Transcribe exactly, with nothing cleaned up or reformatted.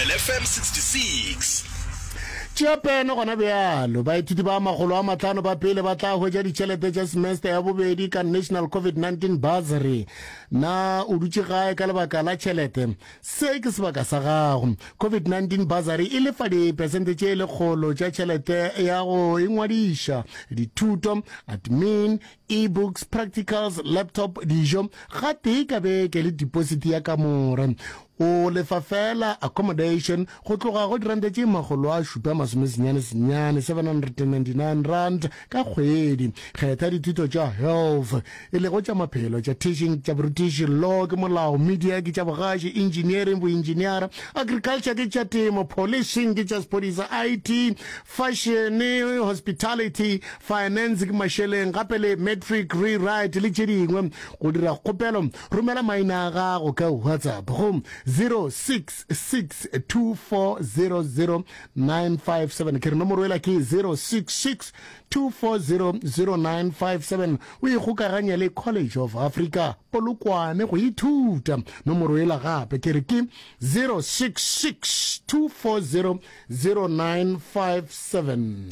Thobela F M sixty-six. Tšea pene gona bjalo. Baithuti ba makgolo a mahlano ba pele ba tla hwetša ditšhelete tša semester ya bobedi ka National COVID nineteen Bursary. Na o dutše gae ka lebaka la tšhelete? Se ke sebaka sa gago. COVID nineteen Bursary e lefa dipersente tše lekgolo tša tšhelete ya go ingwadiša, dithuto, admin, e-books, practicals, laptop, dijo gatee ka beke le deposit ya kamore. O lefa fela accommodation go tloga go diranta tše makgolo a šupa masomesenyane senyane, seven hundred and ninety-nine rand ka kgwedi. Kgetha dithuto tša health, e lego tša maphelo, tša teaching, tša borutiši, law ke molao, media ke tša bogaši, engineering, boengineera, agriculture ke tša temo, policing ke tša sephodisa, I T, fashion, hospitality, finance ke mašeleng, gape le matric rewrite le tše dingwe. Go dira kgopelo, romela maina a gago ka WhatsApp go zero six six two four zero zero nine five seven. Ke re nomoro ela ke zero six six two four zero zero nine five seven. O ikgokaganye le College of Africa Polokwane go ithuta. Nomoro ela gape ke re ke zero six six two four zero zero nine five seven.